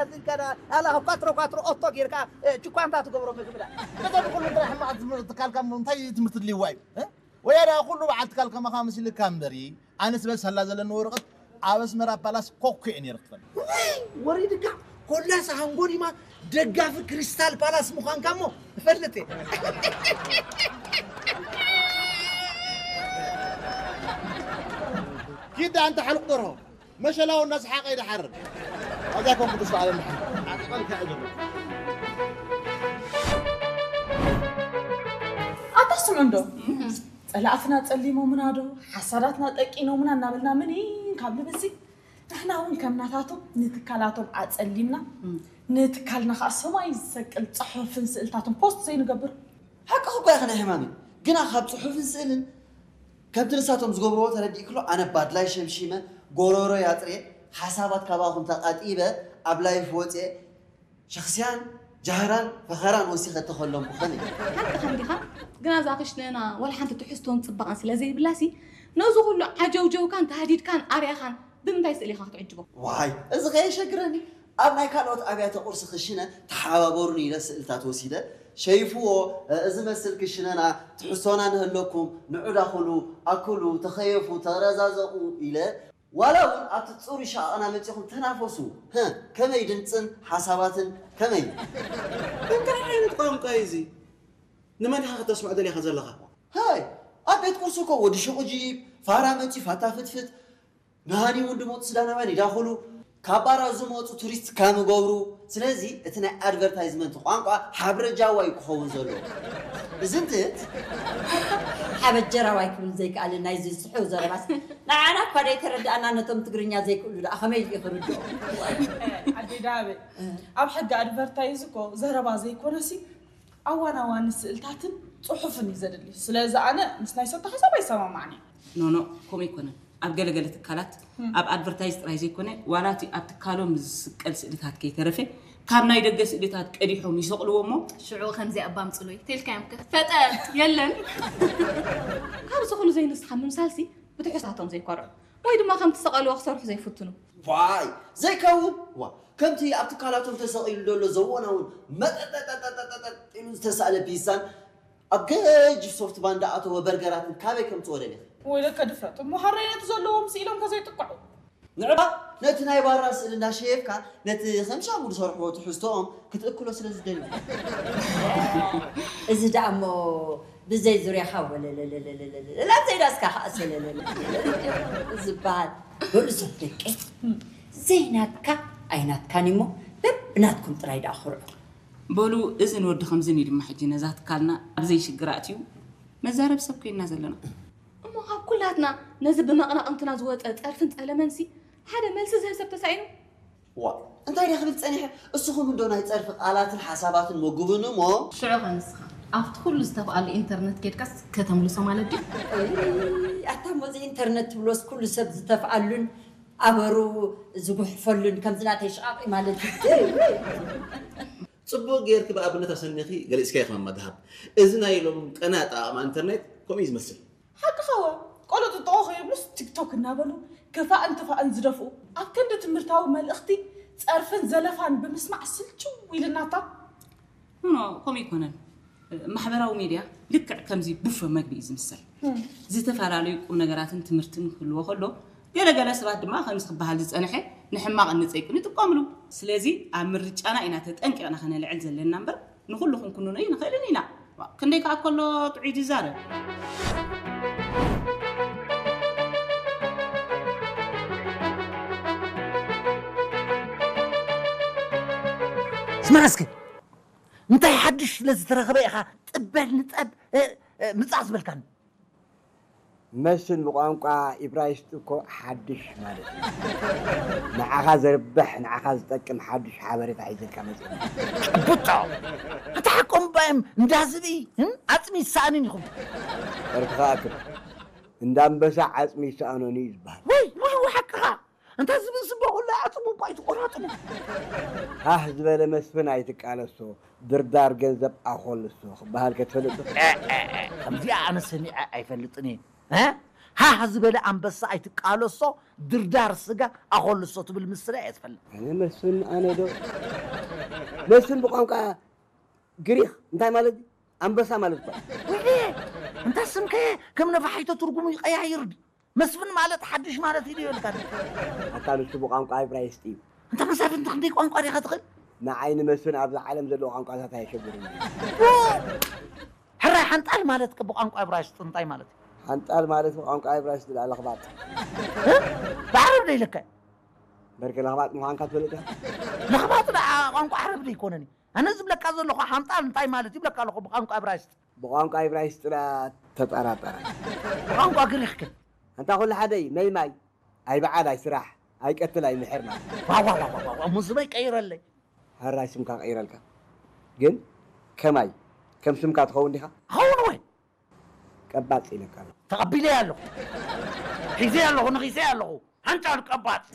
ኣላ ካብ ኳትሮ ኳትሮ ኦቶ ጌርካ እ፣ ችኳንታ ትገብሮ ምግቢ ዳ። ነቶም ኩሉ ጥራሕ ሕማቕ ትምህርቲ ትካልካ እሞ እንታይ ትምህርቲ ድልይዋ እዩ እ? ወያዳ ኩሉ በዓል ትካል ከማኻ ምስልካ እምበሪ ኣነስ በል ሳላ ዘለኒ ወረቐት ኣብ ኣስመራ ፓላስ ኮኮ እየ ነይረ ክትፈልጥ። ወሪድካ ኮላስ ሃንጎሪማ ደጋፊ ክሪስታል ፓላስ ምዃንካ እሞ እፈልጥ እየ። ኪዳ ኣንተ ሓልቕ ደርሆ መሸላው እናሰሓቐ ይደሓር። ኣብዛ ኮንኩ ተስፋ ኣለና። ኣታ ስምዑ እንዶ፣ ጸላእትና ጸሊሞምና ዶ፣ ሓሳዳትና ጠቂኖምና እናበልና ምኒን ካብ ልብሲ፣ ንሕና እውን ከም ናታቶም ንትካላቶም ኣጸሊምና፣ ንትካልና ከኣ ሰማይ ዝሰቅል ጽሑፍን ስእልታትን ፖስት ዘይንገብር። ሓቅኺ እኮ ኢኺ ናይ ሕማመይ። ግና ካብ ጽሑፍን ስእልን ከምቲ ንሳቶም ዝገብርዎ ተረዲእክሎ ኣነ ባድላይ ሸምሺመ፣ ጎሮሮይ ኣጥርየ፣ ሓሳባት ካባኹም ተቓጢበ፣ ኣብ ላይፍ ወፅየ፣ ሸኽስያን ጃህራን ፈኸራን ወሲኸ ተኸለምኩ ኸመይ? ሓቅኻ እንዲኻ፣ ግና እዛ ክሽነና ዋላ ሓንቲ ትሕዝቶን ጽባቐን ስለ ዘይብላሲ፣ ነዚ ኩሉ ዓጀውጀውካን ተሃዲድካን ኣርያኻን ብምንታይ ስእሊ ኢኻ ክትዕጅቦ? ዋይ፣ እዚ ከየሸግረኒ፣ ኣብ ናይ ካልኦት ኣብያተ ቁርሲ ክሽነ ተሓባበሩኒ ኢለ ስእልታት ወሲደ፣ ሸይፍዎ፣ እዚ መስል ክሽነና፣ ትሕዝቶና ንህለኩም፣ ንዑ ዳኹሉ፣ ኣክሉ፣ ተኸየፉ፣ ተረዛዘቑ ኢለ፣ ዋላ እውን ኣብቲ ጽሩይ ሸቓቕና መጺኹም ተናፈሱ፣ ህእ፣ ከመይ ድምጽን ሓሳባትን ከመይ? እንታይ ዓይነት ቋንቋ እዩ እዚ? ንመን ኢኻ ከተስምዖ ደሊኻ ዘለኻ? ሃይ፣ ኣብ ቤት ቁርሲ እኮ ወዲ ሹቕ ጂብ፣ ፋራ መጺ ፋታ ፍትፍት፣ ንሃኒሙን ድሞት ሱዳናውያን ይዳኹሉ፣ ካብ ባራት ዝመጹ ቱሪስት ካም ይገብሩ። ስለዚ እቲ ናይ ኣድቨርታይዝመንት ቋንቋ ሓብረ ጃዋ እዩ ክኸውን ዘለዎ። እዚ እንትት ሓበጀራዋይ ክብል ዘይከኣለ ናይዚ ስሑው ዘረባስ ንዓና እኳ ደይተረድኣና ነቶም ትግርኛ ዘይክእሉ ደኣ ከመይ ኢሉ ክርድኦ? ኣዴ ዳበ ኣብ ሕጊ ኣድቨርታይዝ እኮ ዘረባ ዘይኮነሲ ኣዋን ኣዋን ስእልታትን ጽሑፍን እዩ ዘድሊ። ስለዚ ኣነ ምስ ናይ ሰቶ ሓሳብ ኣይሰማማዕን እየ። ኖኖ፣ ከምኡ ኣይኮነን። ኣብ ገለገለ ትካላት ኣብ ኣድቨርታይዝ ጥራይ ዘይኮነ ዋላ እቲ ኣብ ትካሎም ዝስቀል ስእልታት ከይተረፈ ካብ ናይ ደገ ስእልታት ቀዲሖም ይሰቕልዎ እሞ ሽዑ ከምዚኣ እባ ኣምጽሉይ ተልካዮም ከ ፈጠጥ የለን። ካብዚ ኩሉ ዘይንስኻ ምምሳልሲ ብትሕዝታቶም ዘይኮርዑ ወይ ድማ ከምቲ ዝሰቐልዎ ክሰርሑ ዘይፍትኑ። ዋይ ዘይከውን ዋ ከምቲ ኣብ ትካላቶም ተሰቒሉ ዘሎ ዘወናውን መጠጠጠጠጠጠጥ ኢሉ ዝተሳእለ ፒሳን ኣብ ገጅፍ ሶፍት ባንዳ ኣተወ በርገራትን ካበይ ከምጽኦ ደሊኺ? ወይለከ ድፍረት እሞ ሃረይ ነቲ ዘለዎም ስኢሎም ከዘይጥቅዑ። ንዕባ ነቲ ናይ ባራ ስእሊ እንዳሸየፍካ ነቲ ከም ሻሙ ዝሰርሕዎ ትሕዝቶኦም ክትእክሎ ስለ ዝደልዩ። እዚ ደኣ እሞ ብዘይ ዙርያኻ ወለለለለለለለላ ዘይዳስካ ከዓ ሰለለለ ዝበሃል በሉ ሰብ ደቀይ ዘይናትካ ኣይናትካን እሞ በብናትኩም ጥራይ ደኣ ኩርዑ። በሉ እዝን ወዲ ከምዝን እዩ ድማ ሕጂ ነዛ ትካልና ኣብ ዘይሽግር ኣእትዩ መዛረቢ ሰብ ኮይንና ዘለና። እሞ ካብ ኩላትና ነዚ ብመቕናቕንትና ዝወፀ ፀርፍን ፀለመንሲ ሓደ መልሲ ዝህብ ሰብ ተሳኢኑ? ዋ እንታይ ድየ ክብል ፀኒሐ እስኹም እንዶ ናይ ፀርፊ ቃላትን ሓሳባትን መጉብኒ እሞ ሽዑ ከ ንስኻ ኣብቲ ኩሉ ዝተፍኣሉ ኢንተርነት ኬድካስ ከተምልሶ ማለት ድዩ? ኣታ እሞ እዚ ኢንተርነት ትብሎስ ኩሉ ሰብ ዝተፍኣሉን ኣበሩ ዝጉሕፈሉን ከምዚ ናተይ ሽቓቕ እዩ ማለት እዩ። ጽቡቕ ጌርኪ ብኣብነት ኣሰኒኺ ገሊጽካዮ ከማማ ደሃብ። እዚ ናይ ሎሚ ቀና ኣጠቓቕማ ኢንተርኔት ከምኡ እዩ ዝመስል። ሓቅኻ ወ ቆሎ ጥጥቖ ከየብሉስ ቲክቶክ እናበሉ ክፋእን ትፋእን ዝደፍኡ ኣብ ክንዲ ትምህርታዊ መልእኽቲ ጸርፍን ዘለፋን ብምስማዕ ስልችው ኢልናታ። ኖኖ ከምኡ ኣይኮነን። ማሕበራዊ ሚድያ ልክዕ ከምዚ ቡፈ መግቢ እዩ ዝምሰል። ዝተፈላለዩ ቁምነገራትን ትምህርትን ክህልዎ ከሎ ገለ ገለ ሰባት ድማ ከምዚ ክበሃል ዝጸንሐ ንሕማቕን ንጸይቅን ይጥቀምሉ። ስለዚ ኣብ ምርጫና ኢና ተጠንቂቕና ከነልዕል ዘለና እምበር ንኹሉ ክንኩንኖ ኣይንኽእልን ኢና። ዋእ ክንደይ ከኣ ከሎ ጥዑይ ድዛረብ። ስማዕ እስከ እንታይ ሓድሽ ስለ ዝተረኸበ ኢኻ ጥበል ንጠብ ምጻእ ዝበልካኒ? መስል ብቋንቋ ኢብራይስጥ እኮ ሓድሽ ማለት እዩ። ንዓኻ ዘርብሕ ንዓኻ ዝጠቅም ሓድሽ ሓበሬታ ሒዘልካ መፂእና። ጭቡጦ! ኣታ ሓቆም እባ እዮም እንዳ ዝብኢ ዓፅሚ ይሰኣንን ኢኹም። ዕርፍኻ ኣክብ እንዳ ኣንበሳ ዓፅሚ ይሰኣኖን እዩ ዝበሃል። ወይ ወይ ሓቅኻ እንታይ ዝብል ስቦ ኩሉ ኣጥቡ እኳ ኣይትቆራጥሙ። ሃህ ዝበለ መስፍን ኣይትቃለሶ ድርዳር ገንዘብ ኣኾልሶ ክበሃል ከትፈልጥ ዶ? ከምዚኣ ኣነ ሰሚዐ ኣይፈልጥን እየ። እ? ሃህ ዝበለ ኣንበሳ ኣይትቃለሶ፣ ድርዳር ስጋ ኣኾልሶ ትብል ምስላ እየ ትፈልጥ። ኣነ መስፍን፣ ኣነ ዶ መስፍን ብቋንቋ ግሪኽ እንታይ ማለት እዩ? ኣንበሳ ማለት እኳ እዩ። ወይ እንታ ስምከ ከም ነፋሒቶ ትርጉሙ ይቀያይር ድዩ? መስፍን ማለት ሓድሽ ማለት እዩ ይበልካ። ኣታ ንሱ ብቋንቋ ዕብራይስጢ እዩ። እንተ መሳፍንቲ ክንደይ ቋንቋ ዲኻ ትኽእል? ንዓይ ንመስፍን ኣብዛ ዓለም ዘለዉ ቋንቋታት ኣየሸግሩን። ሕራይ ሓንጣል ማለት ከ ብቋንቋ ዕብራይስጢ እንታይ ማለት እዩ? ሓንጣል ማለት ብቋንቋ ዕብራይስጢ ደኣ ለኽባጥ። እ? ብዓረብ ዶ ኢለካ? በርገ ለኽባጥ ምዃንካ ትፈልጥ ኢኻ? ለኽባጥ ደኣ ቋንቋ ዓረብ ዶ ኣይኮነን እዩ? ኣነ ዝብለካ ዘለኹ ሓንጣል እንታይ ማለት ይብለካ ኣለኹ ብቋንቋ ዕብራይስጢ። ብቋንቋ ዕብራይስጢ ደኣ ተጠራጠረ። ብቋንቋ ግሪኽ ከ? ኣንታ ኩሉ ሓደ እዩ። መይማይ ኣይበዓል ኣይስራሕ ኣይቀትል ኣይምሕር ማለት እዩ። ዋዋዋዋዋ ሙዝበይ ቀይረለይ። ሕራይ ስምካ ቀይረልካ ግን ከማይ ከም ስምካ ትኸውን ዲኻ? ኸውን ወይ ቀባጽ ኢለካ ኣለኹ። ተቐቢለያ ኣለኹ። ሒዘያ ኣለኹ፣ ነኺሰያ ኣለኹ። ሓንጫል ቀባጽ።